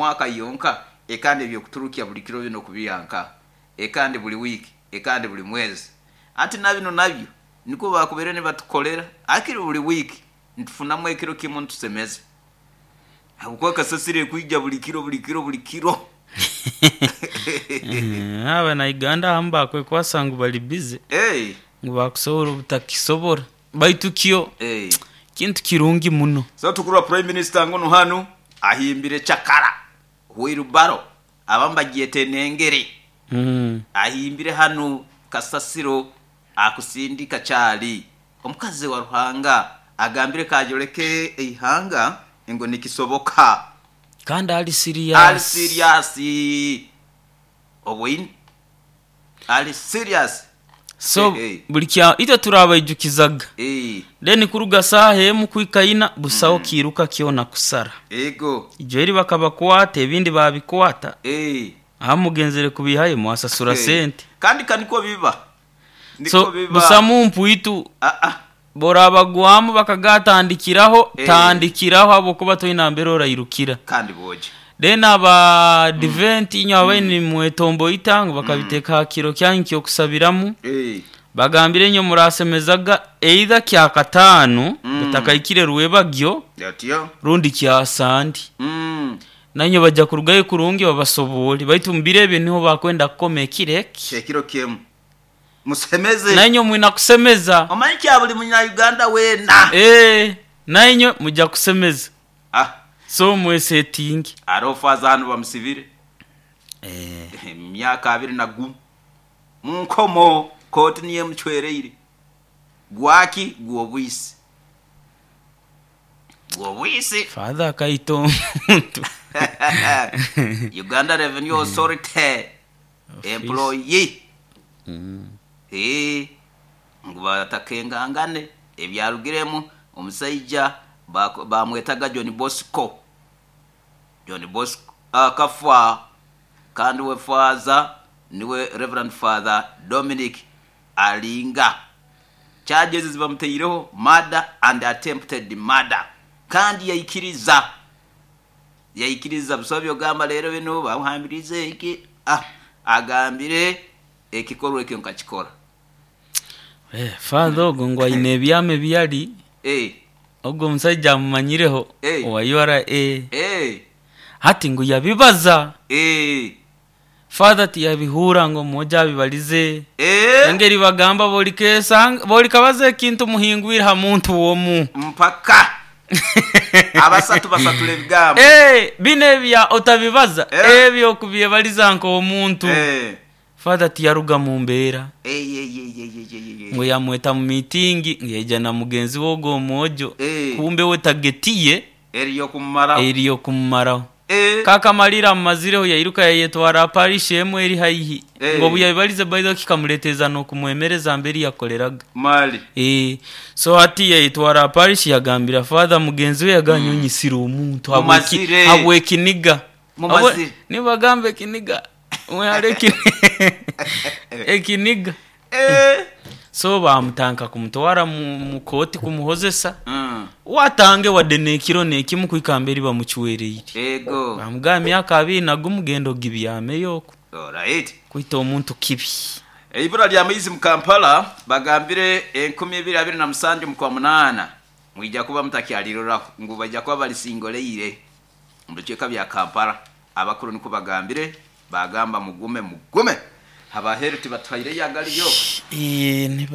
mwaka yonka, ekandi ebyokuturukya buli kiro bino okubiha nkaha, ekandi buli wiiki, ekandi buli mwezi. Hati na binu nabyo nikwo baakubaire nibatukolera, hakiri buli wiiki nitufunamu ekiro kimu nitusemeza habwokuba kasasiro ekwija buli kiro buli kiro buli kiro. Abanauganda abamu bakwekwasa ngu bali bize ngu bakusobola obutakisobola baitu kyo kintu kirungi muno. So tukurora Prime Minister ngunu hanu ahimbire cakara, wheelbarrow, abamu bagyeta enengere, ahimbire hanu kasasiro akusindika kyali. Omukazi wa Ruhanga agambire k'ayoleke eihanga ngu nikisoboka. Kandi ali Ali siriyasi. siriyasi. Oboine? Ali siriyasi. So Ehe. buli kya itwe turabaijukizaga. Eeh. Then kuruga saaha emu kuhika ina busaho kiiruka kyona kusara. Ego. Ijo eri bakabakwata ebindi baabikwata. Eeh. Aha mugenzere kubiihayo mwasasura sente. Kandi ka nikwo biba. Nikwo So biba. busamu mpwitu Aa. bw'orabagwamu bakagatandikiraho, Eeh. tandikiraho ahabw'okuba toine nambere orairukira. Kandi bwogi. Then aba Advent inywe ababaire nimwetomboita ngu bakabiteeka aha kiro kyanyu ky'okusabiramu, Eeh. bagambire inywe murasemezaga either kyakataano butakahikire rwebagyo Otyo. rundi kya Sande. Nainywe baja kurugayo kurungi babasoboore baitu omu biro ebyo niho bakwenda kukoma ekiro eki. Ekiro kimu. Musemeze. Nainywe mwina kusemeza. Omanyi kya buli munya-Uganda weena. Eeh, nainywe muja kusemeza. Ah. So mwesetinge. Haroho faaza hanu bamusibire emyaka abiri na gumu mu nkomo, kooti niyo emucwereire. Gwaki? Gw'obwisi. Gw'obwisi. Father akaita omuntu. Uganda Revenue Authority employee. Eeh, ngu batakengangane ebyarugiremu omusaija bamwetaga John Bosco. John Bosco akafa kandi we faaza niwe Rev. Father Dominic Alinga. Charges zibamutaireho murder and attempted murder kandi yaikiriza. Yaikiriza busaho by'ogamba leero binu bamuhambiriize iki ah agambire ekikorwa ekyo nkakikora. Father ogwo ngu aine ebyama ebi yali. Ogwo omusaija amumanyireho owa ura. Hati ngu yabibaza. Father tiyabihuura ngu omwojo abibalize. Engeri bagamba bw'olikabaza ekintu muhingwire ha muntu omu. Mpaka abasatu basatura ebigambo. Binu ebya otabibaza, ebyo okubyebaliza nk'omuntu. Father tiyaruga mu mbeera. Ngu yamweta mu miitingi ngu yaija na mugenzi we ogwo omwojo kumbe we tageti ye eri y'okumumaraho. K'akamalire amumazireho yairuka yayetwara aha parish emwe eri haihi. Ngu obu yabibalize by the way kikamuleteeza n'okumwemereza mberi yakoleraga. So hati yayetwara aha parish yagambira Father mugenzi we yagamba nyowe nyisire omuntu habw'ekiniga. Nibagamba ekiniga. Mwehale ekiniga. So baamutandika kumutwara mu kooti kumuhozesa. Waatange wadde n'ekiro n'ekimu kuhika mberi bamucwereire. Baamugamba emyaka abiri na gumu genda ogibyameyo okwo. Kwita omuntu kibi. Eibura ly'amaizi mu Kampala bagambire enkumi ibiri abiri na musanju mu Kwamunaana mwija kuba mutakyaliroraho ngu baija kuba balisingoleire Omu bicweka bya Kampala, abakuru nikwo bagambire, baagamba mugume mugume. Abaheru tibatuhaireyo agaliyo. Eeh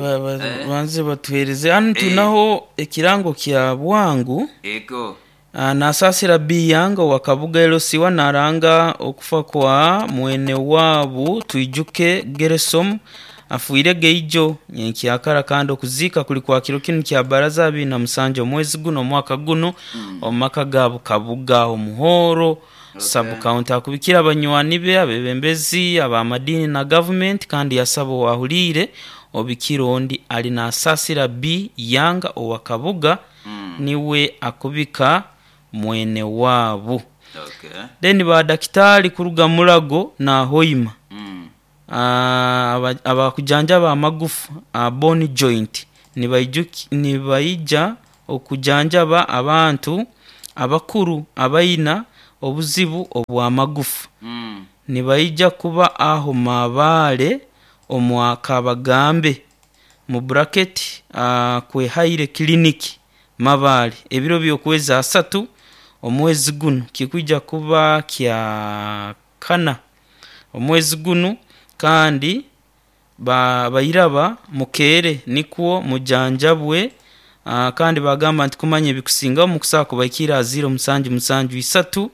banze batuheereze. Hanu twinaho ekirango kya bwangu. Ego. Nasaasira Biyanga owa Kabuga LC I naranga okufa kwa mwene waabu Twijuke Geresom afiire geijo nyenkyakara kandi okuziika kuli kwa kiro kinu kya Baraza 27 omwezi guno omwaka guno omu maka ga Bukabuga Omuhoro Sub County. Akubikire abanywani be, abebembezi ab'amadiini na gavumenti kandi yasaba owahuliire obikire ondi ali Nasasira B. Yanga owa Kabuga niwe akubika mwene waabu. Then ba dakitaali kuruga Mulago na Hoima Abakujanjaba amagufa, bone joint, nibaija okujanjaba abantu abakuru abaina Obuzibu obw'amagufa nibaija kuba aho Mabaale omwa Kabagambe mu bracket Kwehaire Clinic Mabaale ebiro by'okwezi asatu omwezi gunu kikwija kuba kya kana omwezi gunu kandi bairaba mukeere nikwo mujanjabwe. Kandi bagamba nti kumanya ebikusingaho mukusobola kubaikirra aha 0773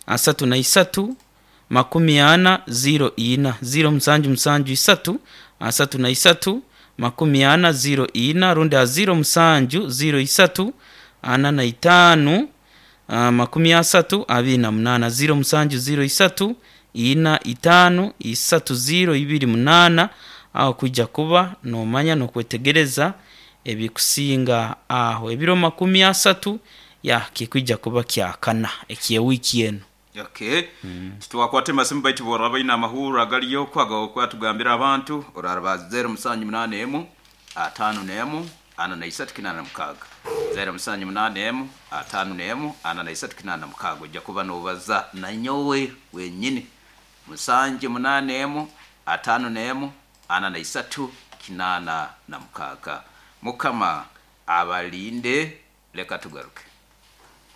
33 40 04 0773 33 40 04 rundi aha 07 03 45 30 28 07 03 45 30 28 aho kwija kuba nomanya n'okwetegereza ebikusinga aho ebiro 30 ya kikwija kuba kyakana eky'ewiiki enu. Okay, titwakwata emasimu baitu boraba baine amahurro agaliyo kwaga tugambira abantu oraraba 078 51 43 86 078 51 43 86 ojja kuba nobaza nanyowe wenyini 781 51 43 86. Mukama abalinde, leka tugaruke.